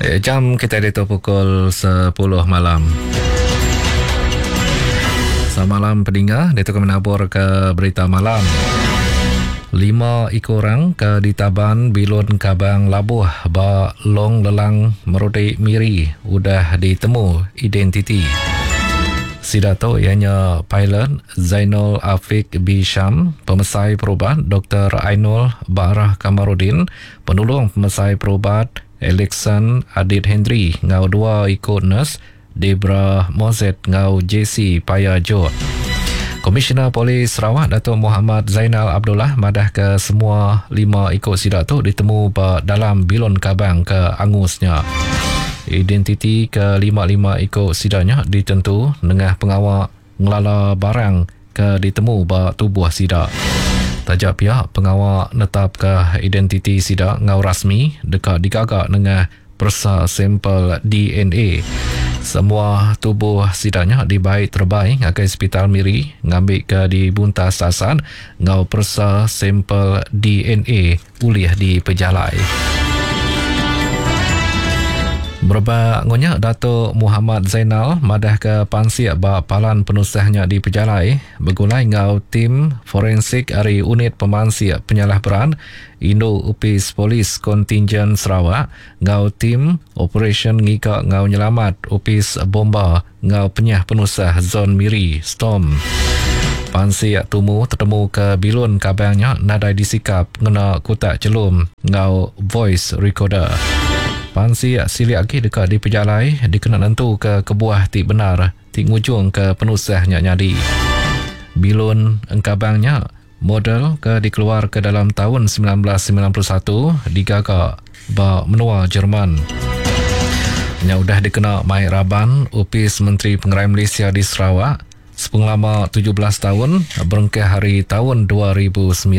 Jam kita ditu pukul 10 malam. Selamat malam peninga, ditu kami nabur ke berita malam. Lima iku orang ke ditaban bilun kabang labuh ba Long Lelang Merudi Miri udah ditemu identiti. Sida tu iya nya pilot Zainul Afiq Bisham, pemesai perubat Doktor Ainul Baarah Kamarudin, Penulung Pemesai Perubat Alexon Adit Henry enggau dua iku nurse Debra Mozet enggau Jesse Paya Jok. Komisioner Polis Sarawak Datuk Mohamad Zainal Abdullah madahka semua lima iku sida tu ditemu ba dalam bilun kabang ke angus nya. Identiti ke lima-lima iku sida nya ditentu nengah pengawa ngelala barang ke ditemu ba tubuh sida. Taja pia, pengawa netapka identiti sida enggau rasmi deka digaga nengah peresa sampel DNA. Semua tubuh sida nya dibai terebai ngagai Sepital Miri ngambika dibuntas tasat enggau peresa sampel DNA. Ulih dipejalai. Berebak enggau nya, Datuk Muhammad Zainal madahka pansik ba palan penusah nya dipejalai begulai enggau tim forensik ari Unit Pemansik Penyalah Berat Indu Opis Polis Kontinjen Sarawak enggau tim Operasyen Ngiga enggau Nyelamat Opis Bomba enggau Penyah Penusah Zon Miri, Storm. Pansik tumu tetemuka bilun kabang nya nadai disikap ngena kutak chelum enggau voice recorder. Pansik silik agi deka dipejalai dikena nentuka kebuah ti bendar ti ngujungka penusah nya nyadi. Bilun engkabang nya model ke dikeluarka dalam taun 1991 digaga ba menua Jerman. Nya udah dikena mai raban Opis Menteri Pengerai Malaysia di Sarawak sepengelama 17 taun berengkah ari taun 2009.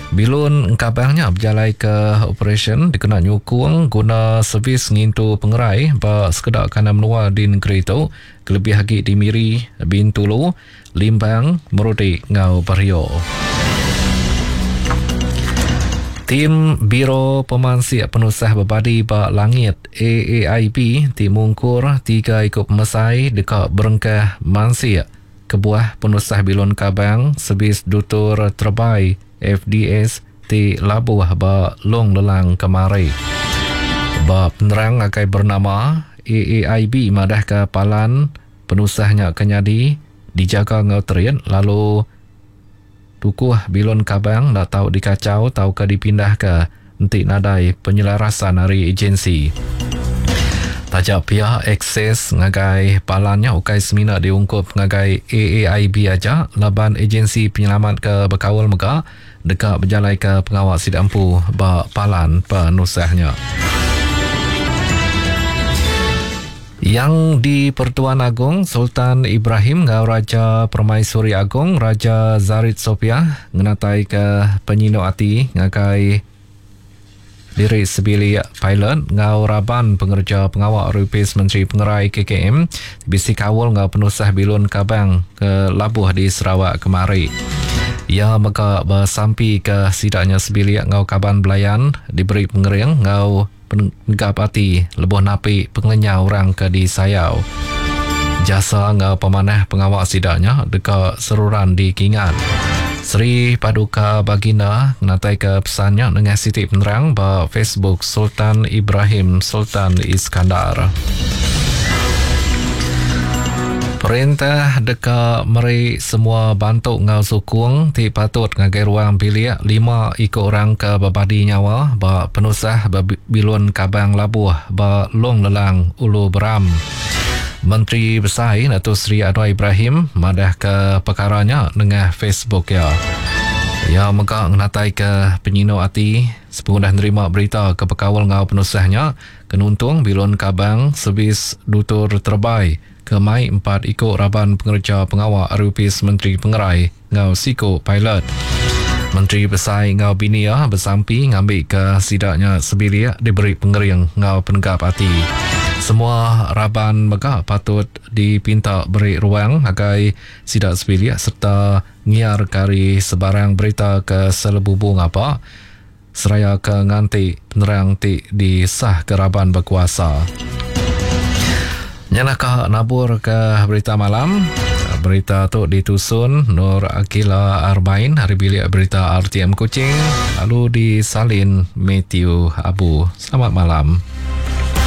Bilun engkabang nya bejalaika operasyen dikena nyukung guna servis ngintu pengerai ba sekeda kandang menua di nengeri tu kelebih agi di Miri, Bintulu, Limbang, Merudi enggau Bario. Tim Biro Pemansik Penusah Bebadi ba Langit, AAIB, ti mungkur tiga iku pemesai deka berengkah mansik kebuah penusah bilun kabang Servis Dutur Terebai, FDS, ti labuh ba Long Lelang kemari. Ba penerang ngagai Bernama, AAIB madahka palan Penusah nya ke nyadi dijaga enggau terit lalu tukuh bilun kabang enda tau dikachau tauka dipindahka enti nadai penyelarasan ari ejensi. Taja pia, akses ngagai palan nya ukai semina diungkup ngagai AAIB aja laban ejensi penyelamat ke bekaul mega deka bejalaika pengawa sida empu ba palan penusah nya. Yang di-Pertuan Agong Sultan Ibrahim enggau Raja Permaisuri Agong Raja Zarit Sopiah ngenataika penyinu ati ngagai diri sebilik pilot enggau raban pengereja pengawa ari Opis Menteri Pengerai KKM bisi kaul enggau penusah bilun kabang ke labuh di Sarawak kemari. Iya mega besampika sida nya sebilik enggau kaban belayan diberi pengering enggau penegap ati lebuh napi pengelenyau orang ke disayau. Jasa enggau pemanah pengawa sida nya deka seruran dikingat. Seri Paduka Baginda ngenataika pesan nya nengah siti penerang ba Facebook Sultan Ibrahim Sultan Iskandar. Perintah deka meri semua bantu enggau sukung ti patut ngagai ruang bilik lima iku orang ke bebadi nyawa ba penusah bilun kabang labuh ba Long Lelang, Ulu Beram. Menteri Besai Datuk Seri Anwar Ibrahim madahka pekara nya nengah Facebook iya. Iya mega ngenataika penyinu ati sepengudah nerima berita ke bekaul enggau penusah nya ke nuntung bilun kabang servis dutur terebai ke mai empat iku raban pengereja pengawa ari Opis Menteri Pengerai enggau siku pilot. Menteri Besai enggau bini iya besampi ngambika sida nya sebilik diberi pengering enggau penegap ati. Semua raban mega patut dipinta beri ruang ngagai sida sebilik sereta ngiarka ari sebarang berita ke selebubu ngapa. seraya ke nganti penerang ti disahka raban bekuasa. Nya naka nabur ke berita malam. Berita tu ditusun Nur Akila Arbain ari bilik berita RTM Kuching lalu disalin Matthew Abu. Selamat malam.